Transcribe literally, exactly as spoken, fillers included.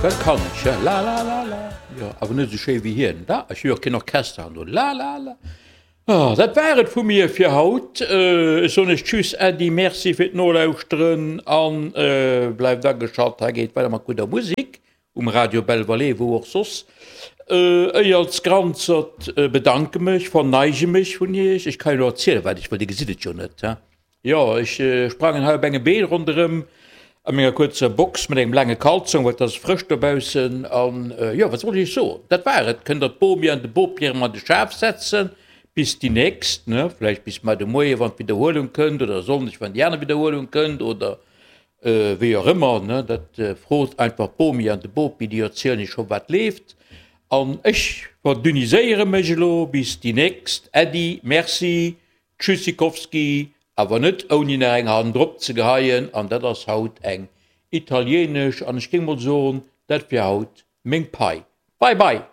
Dat kann ech, ja. La la la la. Jo, awer net esou schéi wéi hien. Da, ech hu jo och keen Orchester an do. La la la. Ah, dat war et vu mir fir haut. Ech soen iech Tschüss, Äddi, Merci fir d'Nolauschteren an bleift ageschalt. Hei geet weider mat gudder Musek um Radio Belval, wou och soss. Ech als Granzert bedanke mech, verneige mech vun iech. Ech ka jo elo erzielen, wat ech wëll, dir gesitt et jo net, he? Jo, ech sprangen hei op engem Been ronderëm a menger kuerzer Box mat engem laange Kalzong, well et ass frësch dobaussen. An jo, wat soll ech iech soen, dat war et. Kënnt der d'Bomi an de Bopi erëm an de Schaf setzen bis déi nächst, ne? Vläicht bis mar de Moie wann d'Widderhuelung kënnt oder e Sonndeg wann déi aner Widderhuelung kënnt oder wéi och ëmmer, ne? Dat frot einfach d'Bomi an de Bopi, déi erzielen iech scho wat leeft. An ech verdünniséiere mech elo bis déi nächst. Äddi, merci. Tschüssikowski, awer net ouni nach eng Hand drop ze geheien, an dat ass haut eng italienesch, an ech géing mol soen, dat wier haut meng Pai. Bye bye!